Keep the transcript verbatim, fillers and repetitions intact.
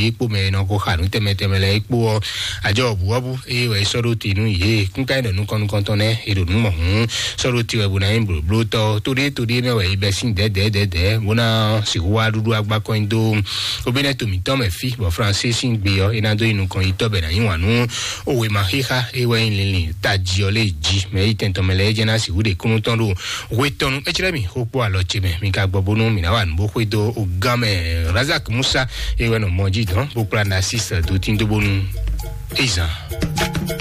yě kpó mɛ e nɔ ko xa nǔ tɛnmɛ tɛnmɛ lɛ́ɛ é kpó ɔ́, àjọ ɔ̀bùwɔ́bù eye wɛ é sɔ́ ɖó te nú yě. Kúnká é ɖɔ nú kɔn nú kɔntɔn nɛ́ é ɖo nǔ mɔ hǔn sɔ́ ɖó te wɛ bó ná nyí blǒblótɔ́. Tóɖé tóɖé mɛ wɛ é bɛ́ sín dɛ̌dɛ̌dɛ̌dɛ̌ bó ná sixú wá ɖúɖú agbákɔ́ nyi dó obénɛ́ to mǐtɔn mɛ fí bɔ Fransé sín gbe ɔ́ é ná dó nyi nukɔn yi tɔ́ bɛ ná nyí wǎn nú owema xíxá é wɛ nyí linlin tají ɔ́ lé jí. Mɛ yi tɛntɔn mɛ lɛ́ɛ é jẹ́ ná sixú ɖe kúnú tɔn ɖo hwetɔnu. É clɛ́ mì xó kpó alɔ ce mɛ mi ka gbɔ bónú mǐ ná wa nǔ bó xwedó o gán mɛ. Razak Musa é wɛ nɔ mɔ jí dɔn bó kplá Narcisse dó tín dó bónú é zan.